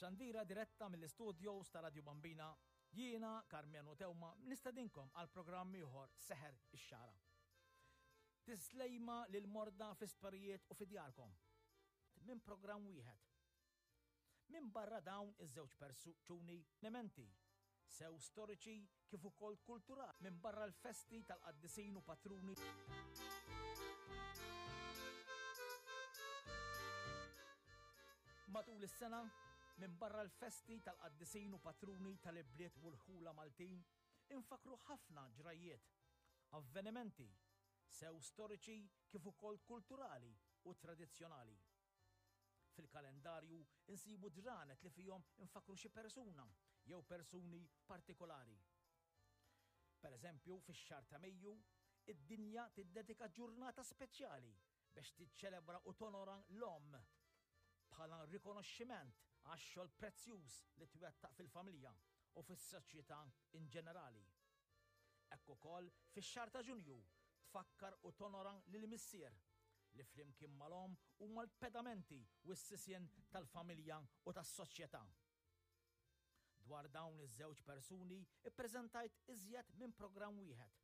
B'xandira diretta mill-istudios ta' Radio Bambina, jiena Karmenu Teuma nistedinkom għal programm ieħor Seħer ix-Xagħra. Tislejma lil morda fl-isptarijiet u fi djarkom. Minn programm wieħed. Minbarra dawn iż-żewġ persuni nementi, sew storiċi kif ukoll kulturali, minbarra l-festi tal-qaddisin u patruni. Matul is-sena, minbarra l-festi tal-qaddisin u patruni tal-ibliet u l-ħula Maltin, infakkru ħafna ġrajjiet, avvenimenti, sew storiċi kif ukoll kulturali u tradizzjonali. Fil-kalendarju nsibu ġranet li fihom infakkru xi persuna jew persuni partikolari. Per eżempju, fix-xahar ta' Mejju, id-dinja tiddedika ġurnata speċjali biex tiċċelebra u tonora l-omm bħala rikonoxximent għax-xogħol prezzjuż li twettaq fil-familja u fis-soċjetà in ġenerali. Hekk ukoll fix-xahar ta' Ġunju tfakkar u tonora lill-missier li flimkien mal-omm huma l-pedamenti u s-sisien tal-familja u tas-soċjetà. Dwar dawn iż-żewġ persuni ppreżentajt iżjed minn programm wieħed.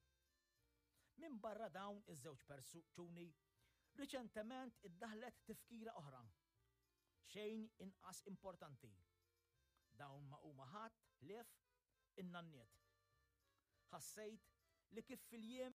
Minbarra dawn iż-żewġ persuni, riċentement iddaħħlet tifkira oħra, xejn inqas importanti. Dawn ma huma ħadd ħlief in-nanniet. Ħassejt li kif fil-jiem.